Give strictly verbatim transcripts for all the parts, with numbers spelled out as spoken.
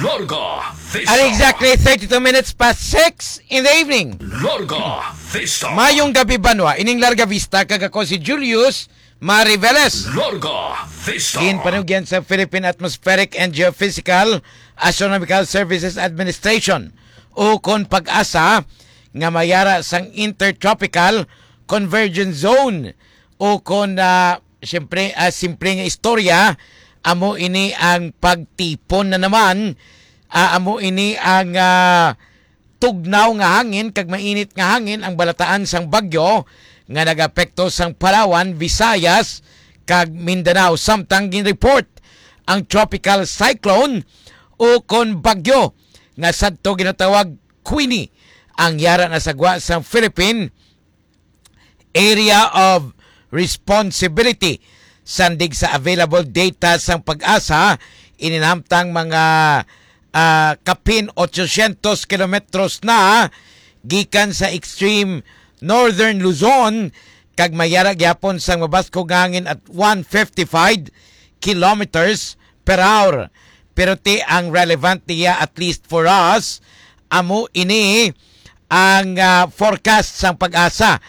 Larga Vista. At exactly thirty-two minutes past six in the evening. Larga Vista. Mayong gabi, banwa. Ining Larga Vista, kag ako si Julius Mariveles. Larga Vista. Ginpanugyan sa Philippine Atmospheric and Geophysical Astronomical Services Administration, o kon PAGASA, nga mayara sang Intertropical Convergence Zone, o kon, ah, siyempre, ah, simple nga istorya, amo ini ang pagtipon na naman, ah, amo ini ang, ah, tugnaw nga hangin kag mainit nga hangin ang balataan sang bagyo nga nagapekto sang Palawan, Visayas, kag Mindanao. Samtang ginreport ang tropical cyclone o kon bagyo nga sadto ginatawag Queenie ang yara na sa gwa sang Philippine Area of Responsibility. Sandig sa available data sang PAGASA, ininamtang mga, ah, kapin ochocientos kilometros na gikan sa extreme northern Luzon, kag mayara gyapon sang mabaskog nga hangin at one fifty-five kilometers per hour. Pero ti ang relevant niya, at least for us, amo ini ang, ah, forecast sang PAGASA,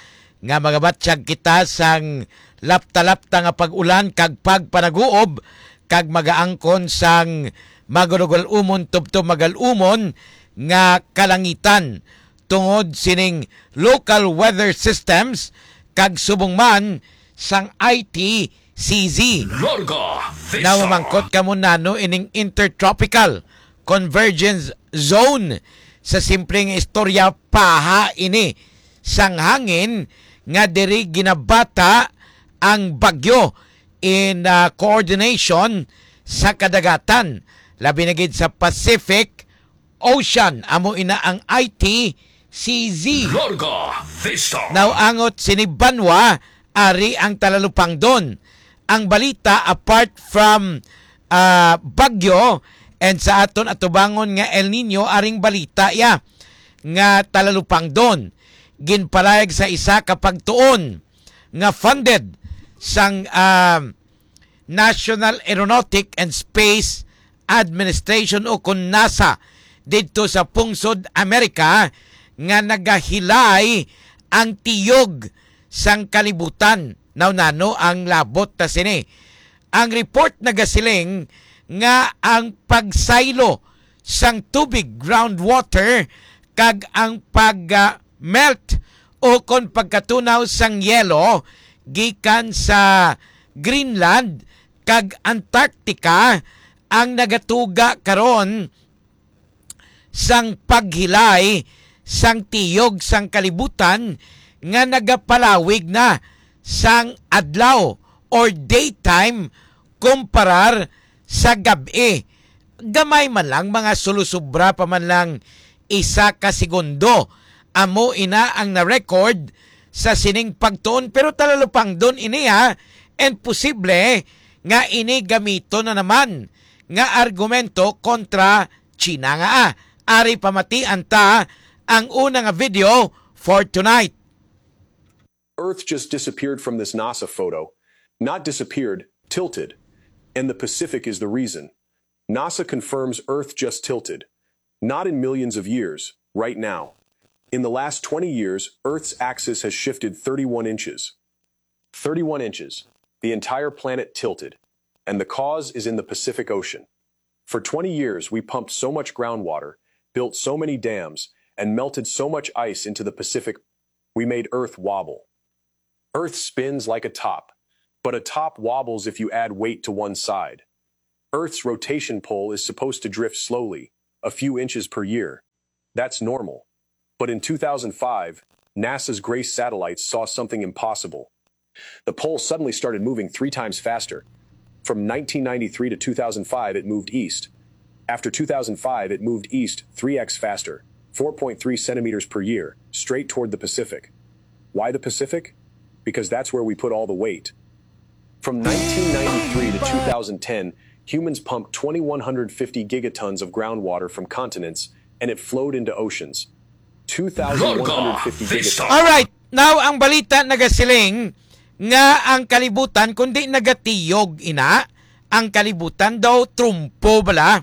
nga magabatyag kita sang lapta-lapta nga pag-ulan kag pagpanaguob, kag magaangkon sang magalugul-umon tubtob magal-umon nga kalangitan tungod sining local weather systems kag subong man sang I T C Z. Larga Vista. Now, mamangkot kamo nano ining intertropical convergence zone. Sa simple nga istorya, paha ini sang hangin nga diri ginabata ang bagyo in, ah, coordination sa kadagatan, labi na gid sa Pacific Ocean. Amo ina ang I T C Z. Larga Vista. Now, angot sini banwa, ari ang Talalupangdon. Ang balita, apart from, ah, bagyo, and sa aton atubangon nga El Nino, aring balita ya nga Talalupangdon ginpalayag sa isa ka pagtuon nga funded sang, ah, National Aeronautic and Space Administration, o kon NASA, didto sa pungsod Amerika nga nagahilay ang tiyog sang kalibutan. Now, nano ang labot ta sini? Ang report nagasiling nga ang pagsaylo sang tubig, groundwater, kag ang pag, ah, melt o kon pagkatunaw sang yelo gikan sa Greenland kag Antarctica ang nagatuga karon sang paghilay sang tiyog sang kalibutan nga nagapalawig na sang adlaw or daytime kumparar sa gab-i. Gamay man lang, mga sulusubra pa man lang isa ka segundo. Amo ina ang na-record sa sining pagtuon, pero talalupangdon ini, ha, and posible nga ini gamiton na naman nga argumento kontra China nga, ah. Ari pamatian ta ang una nga video for tonight. Earth just disappeared from this NASA photo. Not disappeared, tilted. And the Pacific is the reason. NASA confirms Earth just tilted. Not in millions of years, right now. In the last twenty years, Earth's axis has shifted thirty-one inches. Thirty-one inches. The entire planet tilted. And the cause is in the Pacific Ocean. For twenty years, we pumped so much groundwater, built so many dams, and melted so much ice into the Pacific, we made Earth wobble. Earth spins like a top, but a top wobbles if you add weight to one side. Earth's rotation pole is supposed to drift slowly, a few inches per year. That's normal. But in two thousand five, NASA's Grace satellites saw something impossible. The pole suddenly started moving three times faster. From nineteen ninety-three to two thousand five, it moved east. After two thousand five, it moved east three x faster, four point three centimeters per year, straight toward the Pacific. Why the Pacific? Because that's where we put all the weight. From nineteen ninety-three to two thousand ten, humans pumped twenty-one hundred fifty gigatons of groundwater from continents, and it flowed into oceans. Larga Vista. Alright, now ang balita nagasiling nga ang kalibutan, kundi nagatiyog ina, ang kalibutan daw trumpo bala.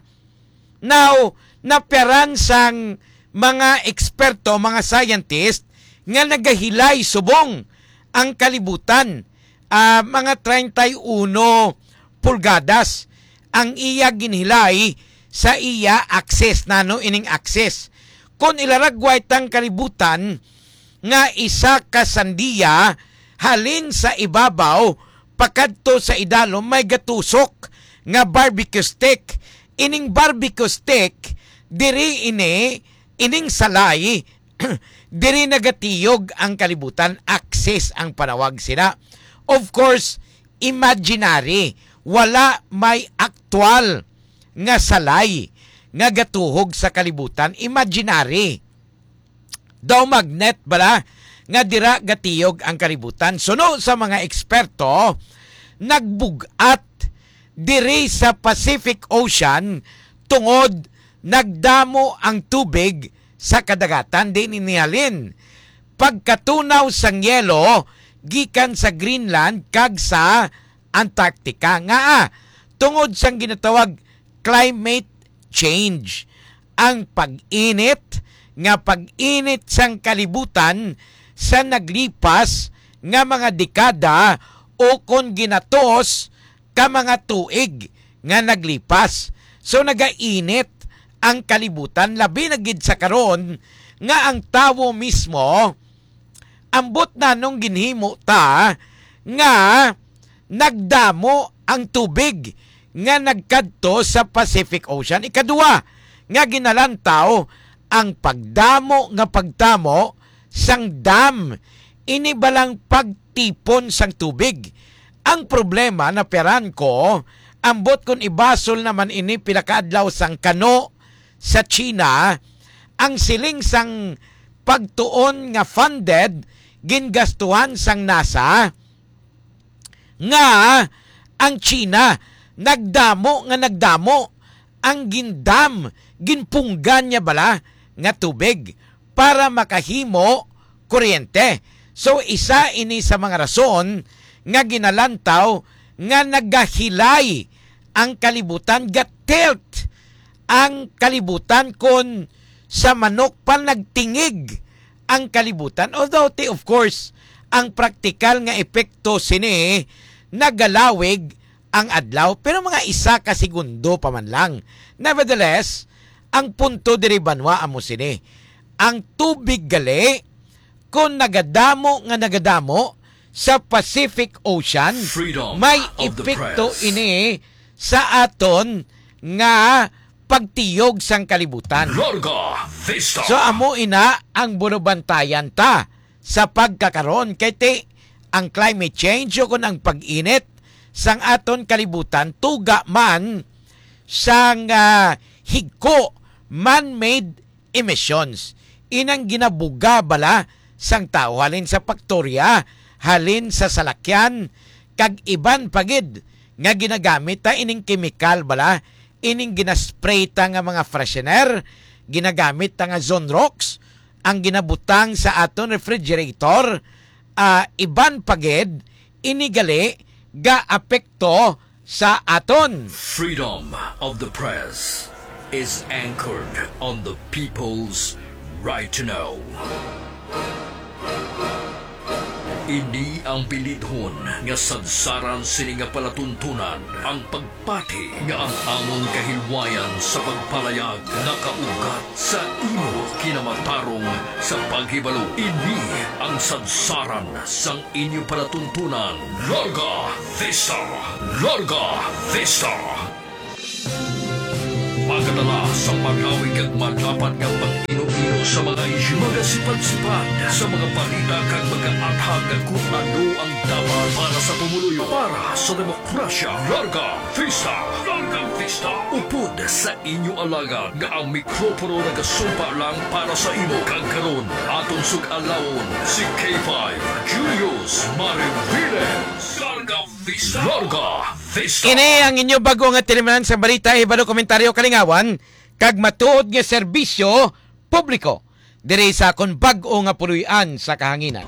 Now, napiaran sang mga eksperto, mga scientist, nga nagahilay subong ang kalibutan, ah, mga treinta y uno pulgadas ang iya ginhilay sa iya axis. Nano ining axis? Kon ilaragway tang kalibutan nga isa ka sandiya, halin sa ibabaw pakadto sa idalom may gatusok nga barbecue stick. Ining barbecue stick, diri ini, ining salay, diri nagatiyog ang kalibutan, axis ang panawag sina. Of course, imaginary, wala may aktual nga salay nga gatuhog sa kalibutan, imaginary. Daw magnet bala nga dira gatiyog ang kalibutan. Suno sa mga eksperto, nagbug-at diri sa Pacific Ocean tungod nagdamo ang tubig sa kadagatan. Diin ini halin? Pagkatunaw sang yelo gikan sa Greenland kag sa Antarctica. Ngaa? Tungod sang ginatawag climate change, ang pag-init nga pag-init sang kalibutan sa naglipas nga mga dekada o kon ginatos ka mga tuig nga naglipas. So, nagainit ang kalibutan, labi na gid sa karon nga ang tawo mismo, ambot nanong ginhimo ta nga nagdamo ang tubig nga nagkadto sa Pacific Ocean. Ikadua nga ginalantaw, ang pagdamo nga pagtamo sang dam. Ini balang pagtipon sang tubig. Ang problema, napiaran ko, ambot kon ibasol naman ini pila ka adlaw sang kano sa China, ang siling sang pagtuon nga funded, gingastuhan sang NASA, nga ang China nagdamo nga nagdamo ang gindam, ginpunggan niya bala nga tubig para makahimo kuryente. So, isa ini sa mga rason nga ginalantaw nga nagahilay ang kalibutan, ga-tilt ang kalibutan kon sa manok pa nagtingig ang kalibutan. Although, ti, of course, ang praktikal nga epekto sini nagalawig ang adlaw, pero mga isa ka segundo pa man lang. Nevertheless, ang punto diri, banwa, amo sini. Ang tubig gali, kung nagadamo nga nagadamo sa Pacific Ocean, Freedom may of the epekto press. Ini sa aton nga pagtiyog sang kalibutan. Larga Vista. So, amo ina ang bunubantayan ta sa pagkakaron, kay ti ang climate change o kun ang pag-init sang aton kalibutan tuga man sang, ah, higko, man-made emissions. Inang ginabuga bala sang tawo halin sa paktorya, halin sa salakyan, kag iban pa gid nga ginagamit ta ining kemikal bala, ining ginaspray ta nga mga freshener, ginagamit ta nga Zonrox, ang ginabutang sa aton refrigerator, ah, iban pa gid, ini gali gaapekto sa aton. Freedom of the press is anchored on the people's right to know. Ini ang bilidhon nga sadsaran sini nga palatuntunan, ang pagpati nga ang amon kahilwayan sa pagpalayag nakaugat sa imo kinamatarong sa paghibalo. Ini ang sadsaran sang inyo palatuntunan. Larga Vista! Larga Vista! Magadala sa malawig kag madapat nga pag-ino-ino sa mga isyu, magasipad-sipad sa mga balita kag magaathag kung ano ang dapat para sa pumuluyo, para sa demokrasya. Larga Vista! Larga Vista! Upod sa inyo alagad nga ang mikropono nagasumpa lang para sa imo. Kag karon, aton sug-alawon si K five Julius Mariviles. Larga Vista! Larga Vista! Ini ang inyo bag-o nga tinimanan sa balita, hibalo, komentaryo, kalingawan, kag matuod nga serbisyo publiko diri sa akon bag-o nga puloy-an sa kahanginan.